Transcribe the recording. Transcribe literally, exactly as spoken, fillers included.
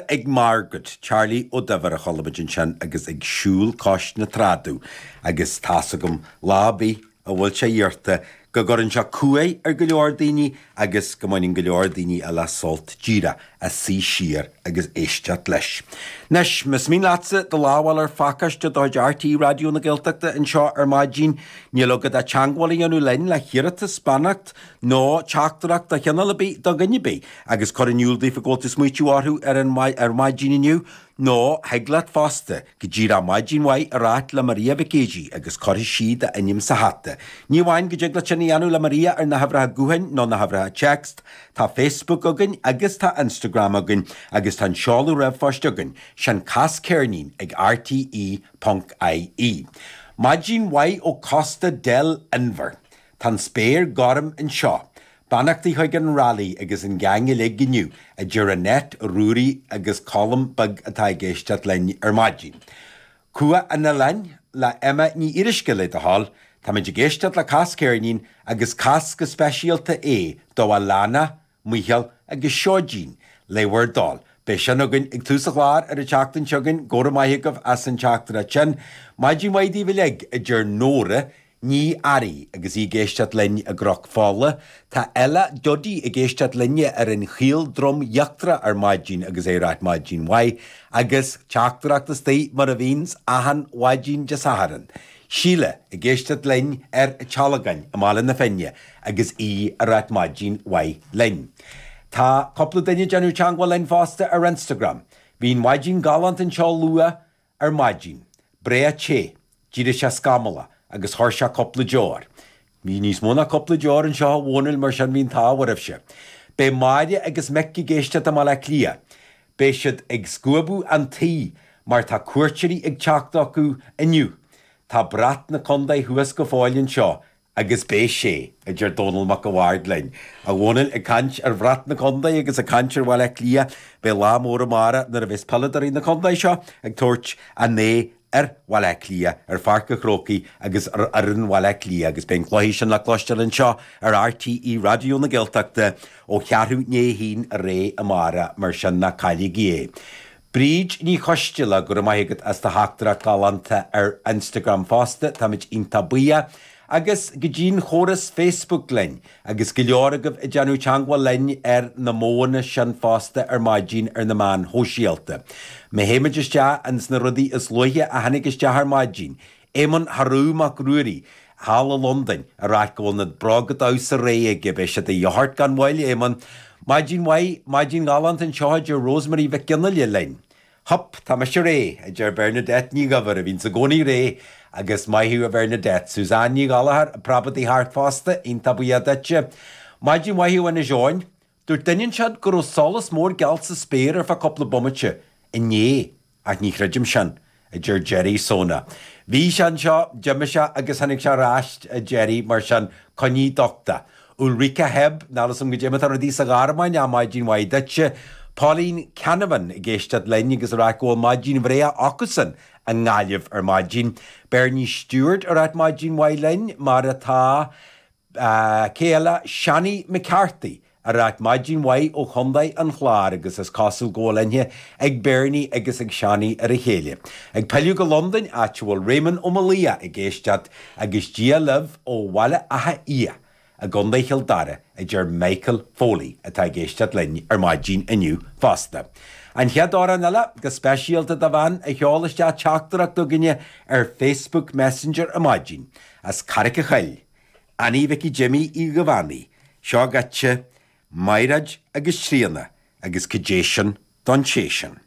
Ag Margaret, Charlie Ó Duibhir a chuala muid ansin agus ag siúl cois na trá domh agus tá's agam lá ar bith a bhfuil sé iarrta go gcuireann sé cumhaidh ar go leor daoine agus go mbaineann go leor daoine eile sult díreach as suí siar agus éisteacht leis. Anois, más mian leatsa do lámh a fháil ar phacáiste de chuid RTÉ Raidió na Gaeltachta anseo ar maidin, níl agat ach teagmháil a dhéanamh linn le hiarratas, beannacht nó teachtaireacht de chineál ar bith do dhuine ar bith agus cur in iúl daofa go bhfuil tú ag smaoitiú orthu ar an ar maidin inniu, nó thig leat fosta go díreach maidin mhaith a ráit le Maria Mhic Géidigh agus cuirfidh sí d'ainm sa hata. Ní amháin go dtig leat sin a dhéanamh le Maria ar na huimhreacha gutháin nó na huimhreacha text, tá Facebook againn agus tá Instagram againn agus tá an seoladh ríomhphoist againn, sin cas ceirnín ag rte ponc ie. Maidin mhaith ó Costa del Inbhir. Tá an spéir gorm anseo. Beannachtaí chuig an Rally agus an gang uilig inniu, a deir Annette, Ruairí agus Colm beag atá ag éisteacht linn ar maidin. Cumha an Oileáin le Emma Ní Fhíoruisce le do thoil, táimid ag éisteacht le Cas Ceirnín agus cas go speisialta é do Alana, Mícheál agus Seoidín le bhur dtoil. Beidh sin againn ag tús an chláir ar an tseachtain seo chugainn, go raibh maith agaibh as an teachtaireacht sin. Maidin mhaith daoibh uilig, a deir Nóra Ní Fhearraigh agus í ag éisteacht linn i gCnoc Fola. Tá Ella Duddy ag éisteacht linne ar an Chaol Drom Íochtarach ar maidin agus é ag ráit maidin mhaith agus teachtaireacht istigh mar a bhíonns achan mhaidin Dé Sathairn. Síle ag éisteacht linn ar an Tealgán i mBaile na Finne agus í ag ráit maidin mhaith linn. Tá cúpla duine ag déanamh teagmháil linn fosta ar Instagram. Bhí an mhaidin galánta anseo luath ar maidin. Breá te, d'éirigh sé scamallach agus chuir sé cúpla deoir. Bhí níos mó ná cúpla deoir anseo a Dhónaill mar sin bhí an t-ádh oraibhse. Beidh Máire agus Mick ag éisteacht i mBaile Átha Cliath. Beidh siad ag scuabadh an tí mar tá cuairteoirí ag teacht acu inniu. Tá brat na contae thuas go fóill anseo agus beidh sé, a deir Dónall Mac a' Bhaird linn. A Dhónaill ag caint ar bhrat na contae agus ag caint ar Bhaile Átha Cliath, beidh lá mór amárach nuair a bheas peileadóirí na contae seo ag tabhairt a n-aghaidh ar Bhaile Átha Cliath, ar Pháirc an Chrócaigh agus ar fhoireann Bhaile Átha Cliath agus beidh an cluiche sin le cloisteáil anseo ar RTÉ Raidió na Gaeltachta ó cheathrú i ndiaidh a haon ar aghaidh amárach mar sin ná cailligí é. Bríd Ní Choisteala, go raibh maith agat as do theachtaireacht ghalánta ar Instagram fosta, táimid iontach buíoch. Agus go dtí'n chóras Facebook linn, agus go leor agaibh ag déanamh teagmháil linn ar na modhanna sin fosta ar maidin ar na meáin shóisialta. Má théimid isteach ins na rudaí is luaithe a tháinig isteach ar maidin, Éamonn Harú Mac Ruairí, thall i Londain, ag ráit go bhfuil na bróga damhsa réidh aige, beidh siad de dhíth ort gan mhoill, Éamonn. Maidin mhaith, maidin ghalánta anseo a deir Rosemary Mhic Fhionnghaile linn. Hup, tá mise réidh, a deir Bernadette Ní Dhuibhir, a bhíonns i gcónaí réidh, agus maith thú a Bhernadette. Suzanne Ní Ghallchóir, ag preabadh thart fosta, iontach buíoch duitse. Maidin mhaith ó Inis Eoghain. Dúirt duine anseo go raibh solas mór geal sa spéir ar feadh cúpla bomaite inné, ach ní chreidim sin, a deir Jerry Sona. Bhí sé anseo, d'imigh sé agus tháinig sé ar ais, a Jerry, mar sin, coinnigh docht. Ulrika Hebb, níl a fhios agam goidé mar atá rudaí sa Ghearmáin, ach maidin mhaith duitse. Pauline Canavan ag éisteacht linn agus ag rá go bhfuil maidin bhreá acusan i nGaillimh ar maidin. Bernie Stewart ag ráit maidin mhaith linn, mar atá cé eile, Seanie McCarthy ag ráit maidin mhaith ó Chontae an Chláir agus is cosúil go bhfuil aithne ag Bernie agus ag Seanie ar a chéile. Ag pilleadh go Londain, áit a bhfuil Raymond Ó Maolaodha ag éisteacht agus Dia libh ó Bhaile Átha Fhiaich i gContae Chill Dara, a deir Michael Foley atá ag éisteacht linn ar maidin inniu fosta. An chéad amhrán eile, go speisialta do bhean a sheol isteach teachtaireacht chugainne ar Facebook Messenger ar maidin, as Carraig a' Choill, Annie Mhicí Jimmy Uí Dhubheannaigh, seo dhuitse, Maighread agus Tríona agus cad é sin don té sin.